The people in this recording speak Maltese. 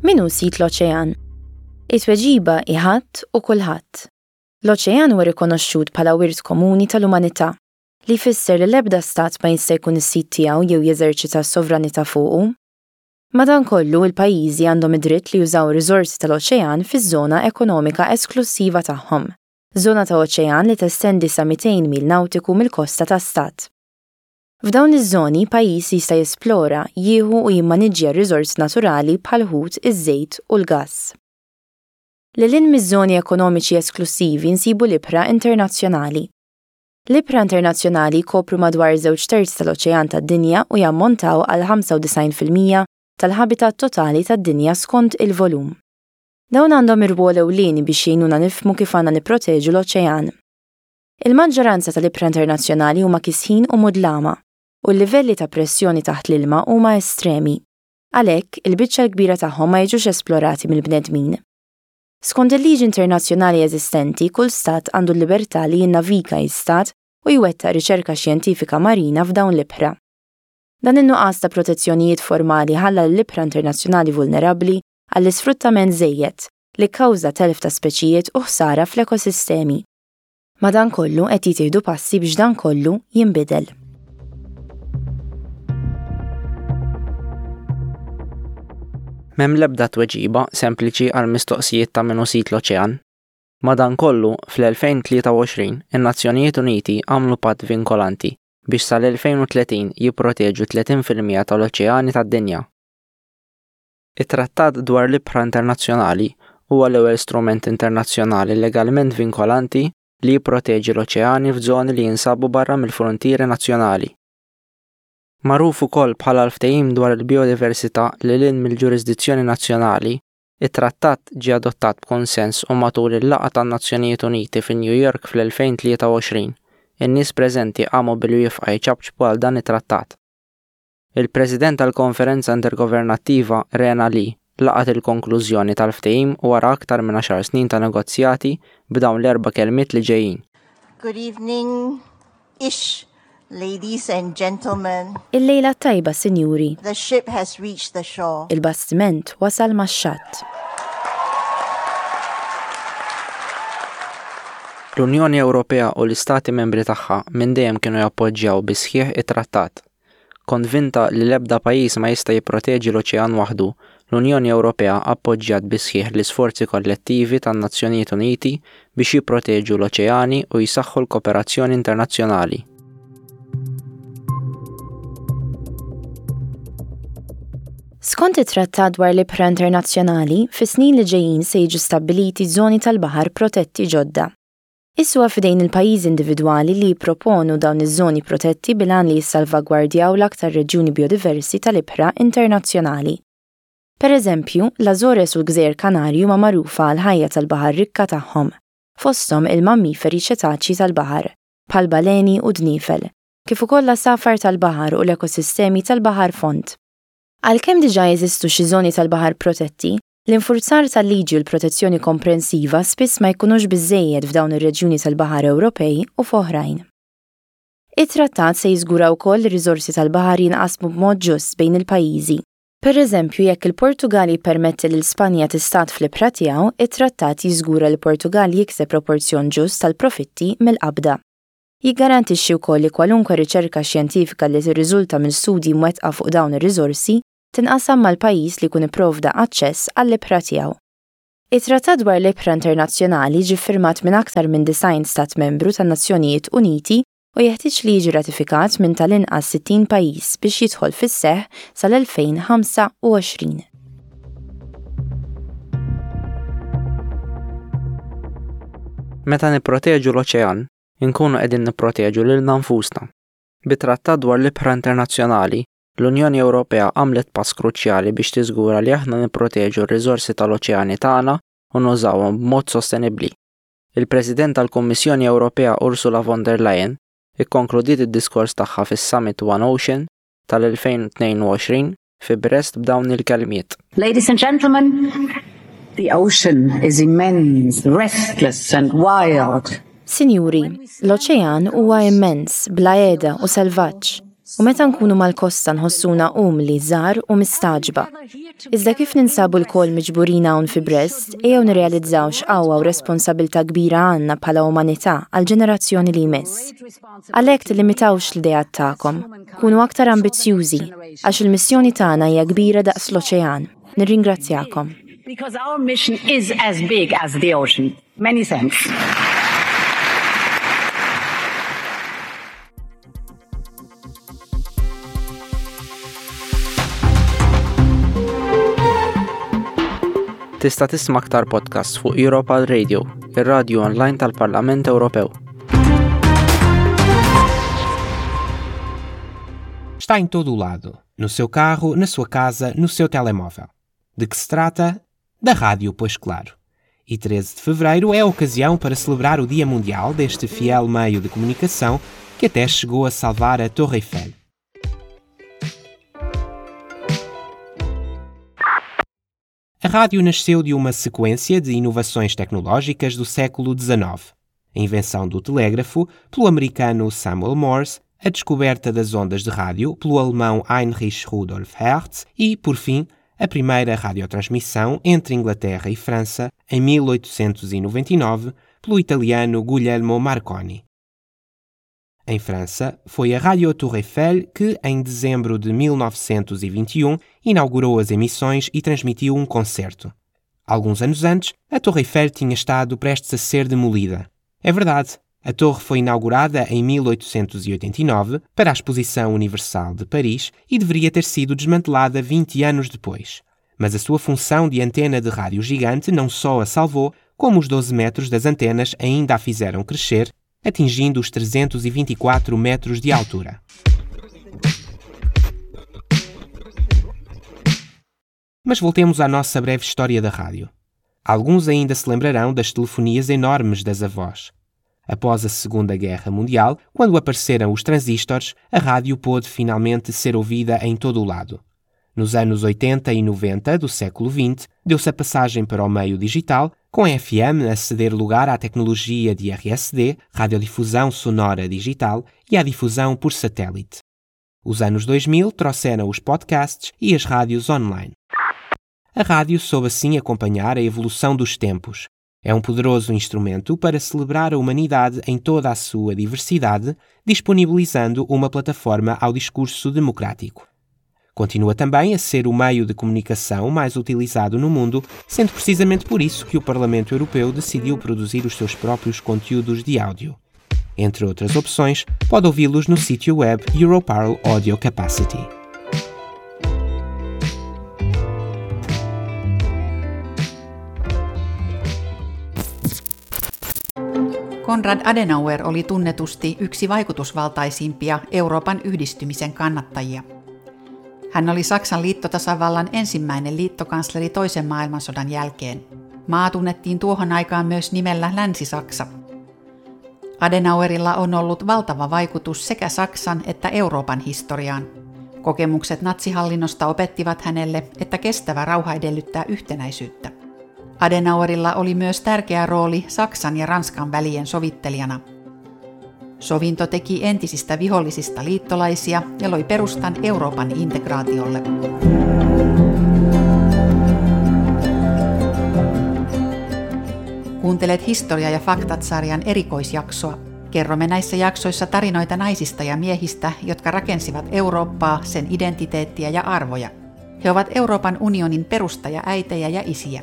Min hu sid l-oċean? It-tweġiba hi ħadd u kulħadd. L-oċean huwa rikonoxxut bħala wirt komuni tal-umanità, li jfisser li l-ebda stat ma jista' jkun is-sid tiegħu jew jeżerċita s-sovranità fuqu. Madankollu, il-pajjiżi għandhom id-dritt li jużaw ir-riżorsi tal-oċean fiż-żona ekonomika esklussiva tagħhom, żona ta' oċean li testendi sa 200 mil nawtiku mill-kosta ta' stat. F'dawn iż-żoni, pajjiż jista' jesplora, jieħu u jimmaniġġja r-riżorsi naturali bħall-ħut, iż-żejt u l-gass. Lil hinn miż-żoni ekonomiċi esklussivi nsibu l-ibħra internazzjonali. L-ibħra internazzjonali jkopru madwar żewġ terzi tal-oċean tad-dinja u jammontaw għal 95% tal-ħabitat totali tad-dinja skont il-volum. Dawn għandhom irwol ewlieni biex jgħinuna nifhmu kif għandna nipproteġu l-oċean. Il-maġġoranza tal-ibħra internazzjonali huma kisħin u mudlama, u l-livelli ta' pressjoni taħt l-ilma huma estremi. Għalhekk, il-biċċa l-kbira tagħhom ma jiġux esplorati mill-bnedmin. Skont il-liġi internazzjonali eżistenti, kull stat għandu l-libertà li jinnaviga jistad u jwettaq riċerka xjentifika marina f'dawn l-ibħra. Dan in-nuqqas ta' protezzjonijiet formali ħalla lill-ibħra internazzjonali vulnerabbli għall-isfruttament żejjed, li kkawża telf ta' speċijiet u ħsara fl-ekosistemi. Madankollu qed jittieħdu passi biex dan kollu jinbidel. M'hemm l-ebda tweġiba sempliċi għall-mistoqsijiet ta' min hu sid l-oċean. Madankollu, fl-2023, in-Nazzjonijiet Uniti għamlu patt vinkolanti biex sal-2030 jipproteġu 30 fil-mija tal-oċeani tad-dinja. It-Trattat dwar l-Ibħra Internazzjonali huwa l-ewwel strument internazzjonali legalment vinkolanti li jipproteġi l-oċeani f'żoni li jinsabu barra mill-fruntieri nazzjonali. Magħruf ukoll bħala l-Ftehim dwar il-Bijodiversità lil hinn mill-ġurisdizzjoni nazzjonali, it-trattat ġie adottat b'kunsens u matul il-laqgħa tan-Nazzjonijiet Uniti fi New York fl-2023, in-nies preżenti qamu bil-wieqfa jċapċpu għal dan it-trattat. Il-President tal-Konferenza Intergovernattiva Rena Lee laqgħet il-konklużjoni tal-ftehim wara aktar minn għaxar snin ta' negozjati b'dawn l-erba' kelmiet li ġejjin. Good evening, ish, ladies and gentlemen. Il-lejla t-tajba, sinjuri. The ship has reached the shore. Il-bastiment wasal max-xatt. L-Unjoni Ewropea u l-Istati Membri tagħha minn dejjem kienu jappoġġjaw bis-sħiħ it-Trattat. Konvinta li l-ebda pajjiż ma jista' jipproteġi l-oċean waħdu, l-Unjoni Ewropea appoġġjat bis-sħiħ l-isforzi kollettivi tan-Nazzjonijiet Uniti biex jipproteġu l-oċeani u jsaħħu l-kooperazzjoni internazzjonali. Skont it-Trattat dwar l-Ibħra Internazzjonali, fis-snin li ġejjin se jiġu stabbiliti żoni tal-baħar protetti ġodda. Issa huwa f'idejn il-pajjiżi individwali li jipproponu dawn iż-żoni protetti bil-għan li jissalvagwardjaw l-aktar reġjuni bijodiversi tal-ibħra internazzjonali. Pereżempju, l-Azores u l-Gżejjer Kanarji huma magħrufa għall-ħajja tal-baħar rikka tagħhom, fosthom il-mammiferi ċetaċji tal-baħar, bħal baleni u dniefel, kif ukoll l-għasafar tal-baħar u l-ekosistemi tal-baħar fond. Għalkemm diġà jeżistu xi żoni tal-baħar protetti, L-infurzar tal-liġi u l-protezzjoni komprensiva spiss ma jkunux biżżejjed f'dawn ir-reġjuni tal-baħar Ewropej u f'oħrajn. It-Trattat se jiżgura wkoll li r-riżorsi tal-baħar jinqasmu b'mod ġust bejn il-pajjiżi. Pereżempju, jekk il-Portugall jippermetti lil Spanja tistad fl-ibħra tiegħu, it-Trattat jiżgura li l-Portugall jikseb proporzjon ġust tal-profitti mill-qabda. Jiggarantixxi wkoll li kwalunkwe riċerka xjentifika li tirriżulta minn studji mwettqa fuq dawn ir-riżorsi tinqasam mal-pajjiż li jkun ipprovda aċċess għall-ibħra tiegħu. It-Trattat dwar l-Ibħra Internazzjonali ġie ffirmat minn aktar minn 90 stat membru tan-Nazzjonijiet Uniti u jeħtieġ li jiġi ratifikat minn tal-inqas 60 pajjiż biex jidħol fis-seħħ sal-2025. Meta nipproteġu l-oċean, inkunu qegħdin nipproteġu lilna nfusna. Bit-Trattat dwar l-Ibħra Internazzjonali, L-Unjoni Ewropea għamlet pass kruċjali biex tiżgura li aħna nipproteġu r-riżorsi tal-oċeani tagħna u nużawhom b'mod sostenibbli. Il-President tal-Kummissjoni Ewropea Ursula von der Leyen ikkonkludiet id-diskors tagħha fis-Summit One Ocean tal-2022 fi Brest b'dawn il-kelmiet. Ladies and gentlemen, the ocean is immense, restless and wild. Sinjuri, l-oċean huwa immens, bla qiegħda u selvaġġ. U meta nkunu mal-kosta nħossuna umli, żgħar u mistagħġba. Iżda kif ninsabu lkoll miġburin hawn fi Brest, ejjew nirrealizzaw x'qawwa u responsabilità kbira għandna bħala umanità għall-ġenerazzjoni li jmiss. Għalhekk tillimitawx l-ideat tagħkom, kunu aktar ambizzjużi, għax il-missjoni tagħna hija kbira daqs l-oċean. Nirringrazzjakom. Because our mission is as big as the ocean. Many thanks. Tista' tisma' aktar podcasts fuq Europal Radio, ir-radju online tal-Parlament Ewropew. Está em todo o lado, no seu carro, na sua casa, no seu telemóvel. De que se trata? Da rádio, pois claro. E 13 de fevereiro é a ocasião para celebrar o Dia Mundial deste fiel meio de comunicação que até chegou a salvar a Torre Eiffel. A rádio nasceu de uma sequência de inovações tecnológicas do século XIX. A invenção do telégrafo pelo americano Samuel Morse, a descoberta das ondas de rádio pelo alemão Heinrich Rudolf Hertz e, por fim, a primeira radiotransmissão entre Inglaterra e França em 1899 pelo italiano Guglielmo Marconi. Em França, foi a Radio Tour Eiffel que, em dezembro de 1921, inaugurou as emissões e transmitiu um concerto. Alguns anos antes, a Torre Eiffel tinha estado prestes a ser demolida. É verdade, a torre foi inaugurada em 1889 para a Exposição Universal de Paris e deveria ter sido desmantelada 20 anos depois. Mas a sua função de antena de rádio gigante não só a salvou, como os 12 metros das antenas ainda a fizeram crescer, atingindo os 324 metros de altura. Mas voltemos à nossa breve história da rádio. Alguns ainda se lembrarão das telefonias enormes das avós. Após a Segunda Guerra Mundial, quando apareceram os transistores, a rádio pôde finalmente ser ouvida em todo o lado. Nos anos 80 e 90 do século XX, deu-se a passagem para o meio digital, com a FM a ceder lugar à tecnologia de RSD, radiodifusão sonora digital, e à difusão por satélite. Os anos 2000 trouxeram os podcasts e as rádios online. A rádio soube assim acompanhar a evolução dos tempos. É um poderoso instrumento para celebrar a humanidade em toda a sua diversidade, disponibilizando uma plataforma ao discurso democrático. Continua também a ser o meio de comunicação mais utilizado no mundo, sendo precisamente por isso que o Parlamento Europeu decidiu produzir os seus próprios conteúdos de áudio. Entre outras opções, pode ouvi-los no sítio web Europarl Audio Capacity. Konrad Adenauer oli tunnetusti yksi vaikutusvaltaisimpia Euroopan yhdistymisen kannattajia. Hän oli Saksan liittotasavallan ensimmäinen liittokansleri toisen maailmansodan jälkeen. Maa tunnettiin tuohon aikaan myös nimellä Länsi-Saksa. Adenauerilla on ollut valtava vaikutus sekä Saksan että Euroopan historiaan. Kokemukset natsihallinnosta opettivat hänelle, että kestävä rauha edellyttää yhtenäisyyttä. Adenauerilla oli myös tärkeä rooli Saksan ja Ranskan välien sovittelijana. Sovinto teki entisistä vihollisista liittolaisia ja loi perustan Euroopan integraatiolle. Kuuntelet Historia ja faktat-sarjan erikoisjaksoa. Kerromme näissä jaksoissa tarinoita naisista ja miehistä, jotka rakensivat Eurooppaa, sen identiteettiä ja arvoja. He ovat Euroopan unionin perustajaäitejä ja isiä.